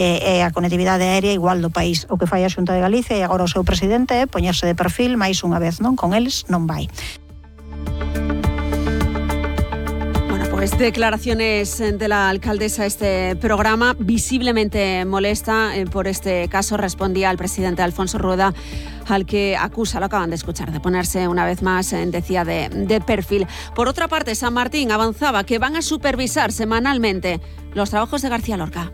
e a conectividade aérea igual do país. O que fai a Xunta de Galicia e agora o seu presidente é poñerse de perfil máis unha vez, non? Con eles non vai. Pues declaraciones de la alcaldesa a este programa, visiblemente molesta por este caso. Respondía al presidente Alfonso Rueda, al que acusa, lo acaban de escuchar, de ponerse una vez más, decía, de perfil. Por otra parte, San Martín avanzaba que van a supervisar semanalmente los trabajos de García Lorca.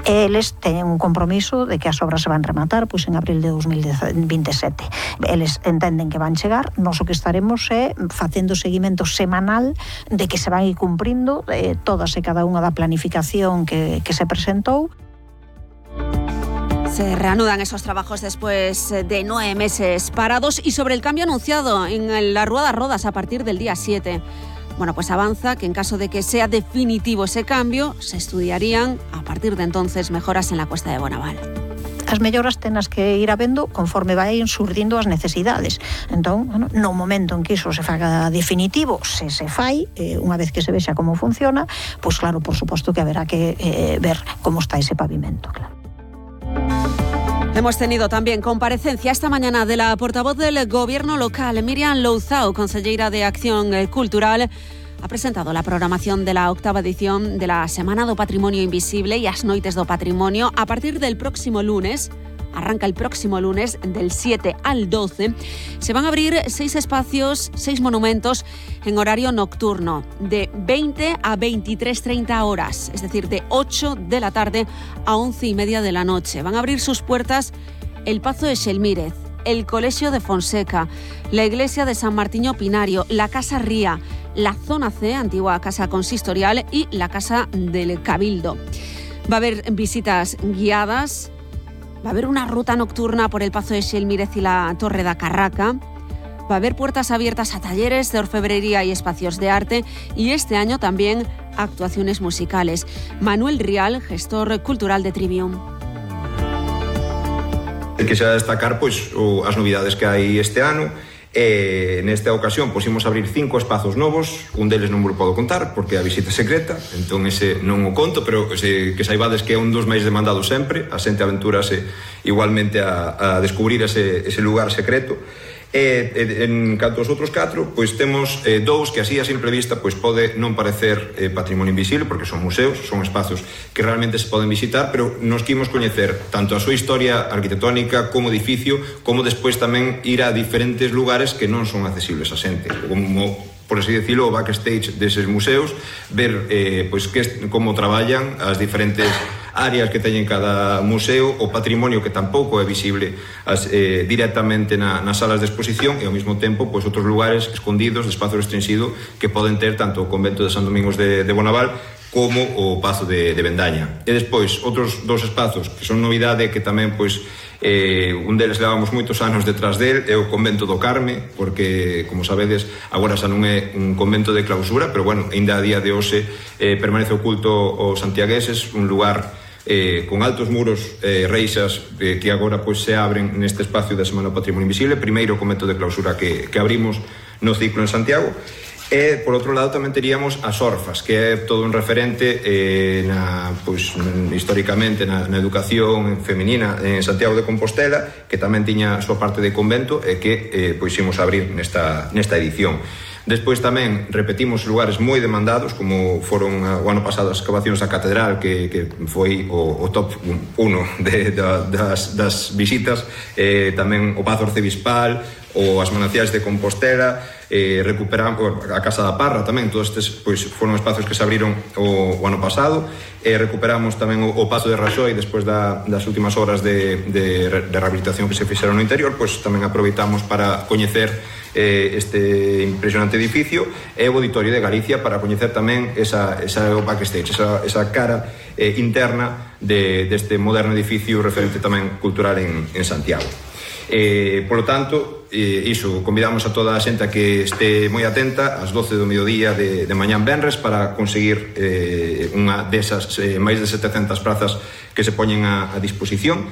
Eles teñen un compromiso de que as obras se van rematar pois en abril de 2027. Eles entenden que van chegar, nós o que estaremos é facendo seguimento semanal de que se van ir cumprindo todas e cada unha da planificación que se presentou. Se reanudan esos trabajos después de 9 meses parados y sobre el cambio anunciado en la Rueda Rodas a partir del día 7. Bueno, pues avanza que en caso de que sea definitivo ese cambio, se estudiarían a partir de entonces mejoras en la Cuesta de Bonaval. As melloras tenas que ir habendo conforme vai surdindo as necesidades. Entón, no momento en que iso se faga definitivo, se fai, unha vez que se vexa como funciona, pois claro, por suposto que haberá que ver como está ese pavimento, claro. Hemos tenido también comparecencia esta mañana de la portavoz del Gobierno local, Miriam Louzao, conselleira de Acción Cultural. Ha presentado la programación de la 8ª edición de la Semana do Patrimonio Invisible e as Noites do Patrimonio a partir del próximo lunes. Arranca el próximo lunes del 7 al 12. Se van a abrir 6 espacios, 6 monumentos en horario nocturno, de 20 a 23:30 horas, es decir, de 8 de la tarde a 11:30 de la noche. Van a abrir sus puertas el Pazo de Xelmírez, el Colegio de Fonseca, la Iglesia de San Martiño Pinario, la Casa Ría, la Zona C, antigua Casa Consistorial, y la Casa del Cabildo. Va a haber visitas guiadas. Va a haber una ruta nocturna por el Pazo de Xelmírez y la Torre da Carraca. Va a haber puertas abiertas a talleres de orfebrería y espacios de arte. Y este año también actuaciones musicales. Manuel Rial, gestor cultural de Trivium. Quisiera destacar pois as novidades que hai este ano. Nesta ocasión imos abrir 5 espazos novos. Un deles non vos podo contar porque a visita é secreta, entón ese non o conto, pero que saibades que é un dos máis demandados sempre. A xente aventúrase igualmente a descubrir ese lugar secreto. En canto aos outros 4, pois temos 2 que así a simple vista pois pode non parecer patrimonio invisible, porque son museos, son espacios que realmente se poden visitar, pero nos quimos coñecer tanto a súa historia arquitectónica como edificio, como despois tamén ir a diferentes lugares que non son accesibles a xente, como por así decirlo, o backstage deses museos, ver pois como traballan as diferentes áreas que teñen cada museo, o patrimonio que tampouco é visible directamente nas salas de exposición, e ao mesmo tempo pois outros lugares escondidos de espazo restringido que poden ter tanto o convento de San Domingos de Bonaval como o Pazo de Vendaña. E despois outros 2 espazos que son novidade, que tamén pois un deles levamos moitos anos detrás del, é o convento do Carme, porque como sabedes agora xa non é un convento de clausura, pero bueno, ainda a día de hoxe permanece oculto aos santiagueses, un lugar con altos muros, reixas que agora pois se abren neste espacio da Semana do Patrimonio Invisible, primeiro convento de clausura que abrimos no ciclo en Santiago. E, por outro lado, tamén teríamos as Orfas, que é todo un referente históricamente na educación femenina en Santiago de Compostela, que tamén tiña a súa parte de convento e que imos abrir nesta edición. Despois tamén repetimos lugares moi demandados, como foron o ano pasado as excavacións da Catedral, que foi o top 1 das visitas, tamén o Pazo Arcebispal, ou as Mananciais de Compostela, recuperamos a Casa da Parra tamén. Todos estes pois foron espazos que se abriron o ano pasado. Recuperamos tamén o Pazo de Raxoi despois das últimas horas de rehabilitación que se fixeron no interior. Pois tamén aproveitamos para coñecer este impresionante edificio, e o Auditorio de Galicia para coñecer tamén esa backstage, esa cara interna deste moderno edificio referente tamén cultural en Santiago. Polo tanto, iso, convidamos a toda a xente a que este moi atenta ás 12 do mediodía de mañán venres para conseguir unha desas máis de 700 prazas que se poñen a disposición.